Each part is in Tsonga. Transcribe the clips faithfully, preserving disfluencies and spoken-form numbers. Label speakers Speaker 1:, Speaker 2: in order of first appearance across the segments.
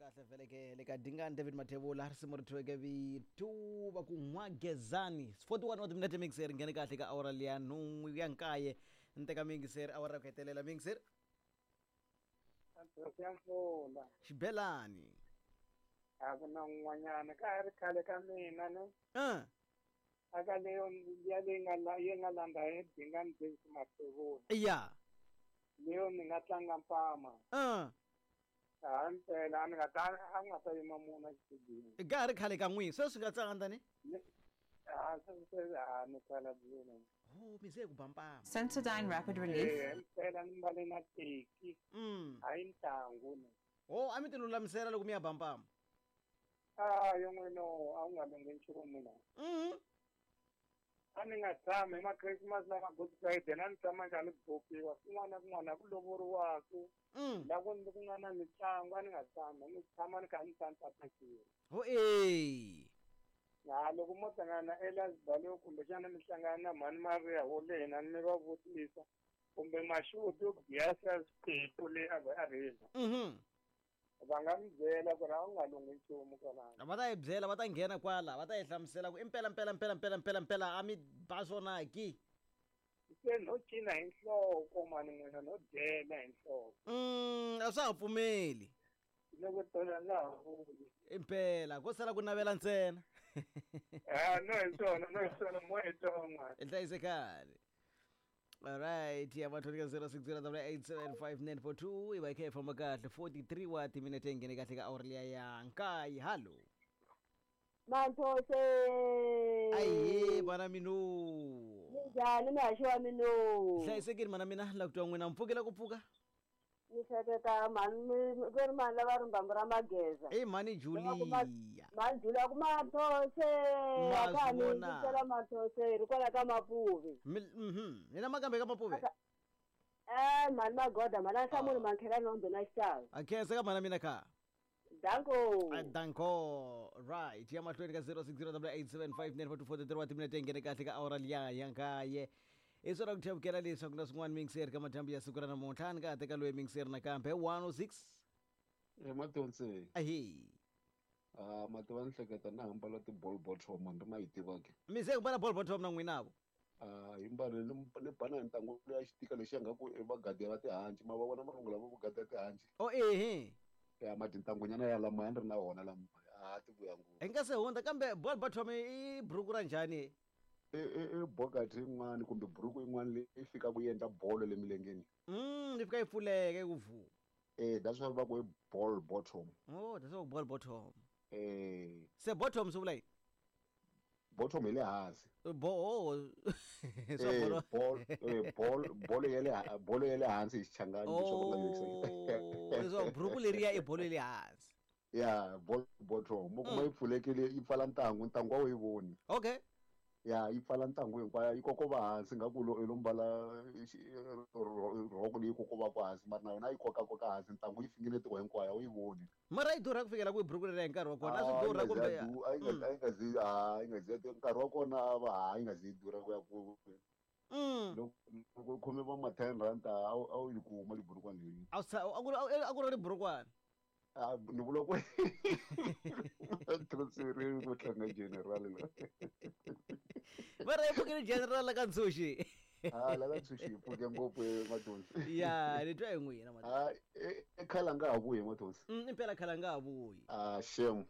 Speaker 1: Kahle vele ke le ka Dingani David Mathebula risimu ri thyiweke vito va ku N'wagezani. forty-one wa timinete mixer nghene kahle ka awara liya nhungu ya nkaye ni teka mixer awara ya ku hetelela mixer
Speaker 2: ya mpfula
Speaker 1: xibelani
Speaker 2: a ku na un'wanyana ka ha ri khale ka mina ne
Speaker 1: uh.
Speaker 2: aka leyo ya leyi nga la yi nga landza hi Dingani David Mathebula
Speaker 1: ya
Speaker 2: leyo ni nga tlanga mpama
Speaker 1: uh.
Speaker 2: a mpela a ni nga ta a nga ta yima munhu exitudini
Speaker 1: ka ha ri khale ka n'wini sweswi nga tsanga ndani
Speaker 2: a se se a ni khalabyile
Speaker 1: oh mi ze ku ba mpama
Speaker 3: Sensodyne Rapid Relief.
Speaker 2: eh mpela ni mbale na teki
Speaker 1: mm.
Speaker 2: hayi ntangu ni
Speaker 1: oh a mi ti lulamisela loko mi ya ba mpama
Speaker 2: a yo n'wino a wu nga lunghi nchumu la
Speaker 1: mm.
Speaker 2: a ni nga tshami hi ma-Christmas na ma-Good Friday na ni tshama njhani bukiwa kun'wana na kun'wana ku lovoriwaku
Speaker 1: Mm.
Speaker 2: la ku ku nga na mitlangu a ni nga tshami ni tshama ni kha ni tsantsapekile
Speaker 1: ho eh
Speaker 2: ha loko mo hlangana na Elias Balo kumbexana mi hlangana na mhani Maria wo lena mi va vutisa kumbe Mashudu yo biasa swiphiqo le a va a rila
Speaker 1: mhm
Speaker 2: va nga mi byela ku ri a wu nga lunghi nchumu kwalano
Speaker 1: va ta yi byela va ta nghena kwala va ta yi hlamusela ku i mpela mpela mpela mpela mpela mpela a mi ba swona ki
Speaker 2: se no cina hi nhloko mani n'wina no dyela hi nhloko
Speaker 1: mm a swa ha pfumeli
Speaker 2: loko tola nga ha vuli
Speaker 1: impela ko sala ku navela ntsena
Speaker 2: a no hi swona no hi swona mo hi ton'wana
Speaker 1: i hlayisekani alright ya mathoni ka zero six zero double eight seven five nine four two i va yi kha yi famba kahle forty-three wa timinete yi nghene kahle ka awara liya ya nkaye hallo
Speaker 4: Manthose
Speaker 1: ahe mana mino
Speaker 4: Minjhani muhaxi wa mino
Speaker 1: hlayisekile mana mina la ku twa n'wina mi pfukela ku pfuka
Speaker 4: ni hleketa mhani mi ku ri mani lava rimbambu ra mageza
Speaker 1: i mhani Julia
Speaker 4: mhani Julia ku Manthose
Speaker 1: Ma
Speaker 4: a ka ha
Speaker 1: swi
Speaker 4: ni
Speaker 1: vona.
Speaker 4: yingisela Manthose hi ri kwala ka Mapuve
Speaker 1: Mi- mhm ni na makambe ka Mapuve
Speaker 4: eh mhani Magoda mhani a hlamuli mankhelani wa mbena xitalo
Speaker 1: a khensa ka mana mina kha
Speaker 4: danko
Speaker 1: Ah, danko right ya mahlweni ka zero six zero double eight seven five nine four two four three wa timinete yi nghene kahle ka awara liya ya nkaye i swona ku thyavukela leswaku na swin'wana mixer ka madyambu ya siku ra namuntlha ni ka ha teka loyi mixer nakambe one oh six
Speaker 5: e Matonse
Speaker 1: ahe
Speaker 5: a mativa ni hleketa na hambala ti-ball bottom ni ma yi tiva ke
Speaker 1: mi se ku mbala ball bottom na n'winavo
Speaker 5: a hi mbale ni ni bana hi ntangu leya xitika lexiya nga ku i vagadi va tihanci ma va vona marungu lama vugadi ya tihanci
Speaker 1: o ehe
Speaker 5: ya matintangunyana ya lama ya ni ri na wona lama a ti vuya ngopfu
Speaker 1: hi nga se hundza kambe ball bottom i buruku ra njhani
Speaker 5: i i i bokati yin'wani kumbe buruku yin'wani leyi fikaka yi endla bolo le milengeni
Speaker 1: mm yi fika yi pfuleka yi ku vu
Speaker 5: eh that's why va ku i ball bottom
Speaker 1: oh that's what ball bottom
Speaker 5: eh
Speaker 1: se bottom swi vula yini
Speaker 5: bottom hi le hansi
Speaker 1: bo oh swa
Speaker 5: eh
Speaker 1: bolo
Speaker 5: ball eh ball bolo ya le ha- bolo ya le hansi hi xichangani leswi va nga
Speaker 1: oh leswaku buruku leriya i bolo ya le hansi
Speaker 5: ya ball bottom u kuma yi pfulekile yi pfala ntangu ntangu a wu yi voni
Speaker 1: okay
Speaker 5: ya yi pfala ntangu hinkwayo yi kokova hansi nga ku lo i lo mbala xi- ro- rhoko leyi kokovaka hansi mara na yona yi kokakoka hansi ntangu yi finingetiwa hinkwayo a wu yi voni
Speaker 1: mara yi durha ku fikela kwihi buruku leriya hi nkarhi wa kona a swi
Speaker 5: Ah,
Speaker 1: durha
Speaker 5: yi nga
Speaker 1: kumbe
Speaker 5: zi ya du- a yi nga- a yi nga zi a yi nga zi ya du- nkarhi wa kona a va ha yi nga zi yi durha ku ya ku
Speaker 1: Mm.
Speaker 5: loko loko u khome va ma ten rand a wu a wu yi kuma liburukwana leyi
Speaker 1: a wu sa- a ku ri- a ku ri burukwana
Speaker 5: Ah, ni vula ku transferini ku tlanga general la
Speaker 1: mara yi pfukile general la ka ntshunxi
Speaker 5: ah la ka ntshunxi yi pfuke ngopfu Mathonsi
Speaker 1: ya ni twa hi n'wina ma
Speaker 5: ah e e khale a nga ha vuyi Mathonsi
Speaker 1: Mm, impela khale a nga ha vuyi
Speaker 5: ah shame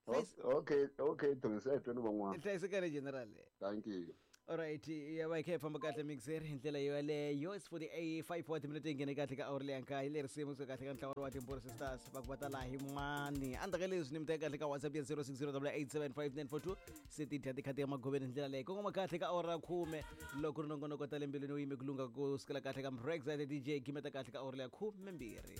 Speaker 1: Hlayis-
Speaker 5: okay okay Thonsi a hi tweni van'wana
Speaker 1: hlayisekani general
Speaker 5: thank you
Speaker 1: alright ya va yi kha yi famba kahle mixer hi ndlela yoyaleyo is forty five wa timinete yi nghene kahle ka awuri leya nkaye le risimu kusuka kahle ka ntlawa wa timbhuri sisters va ku va ta laha hi mani endzhaku ka leswi ni mi teka kahle ka whatsapp ya zero six zero double eight seven five nine four two se ti dya tikhati ya magoveni hi ndlela leyi kongoma kahle ka awuri ra khume loko ri nongonoko ta le mbilwini wu yime ku lungha ku sukela kahle ka mbrexit D J gimeta kahle ka awuri leya khume mbirhi.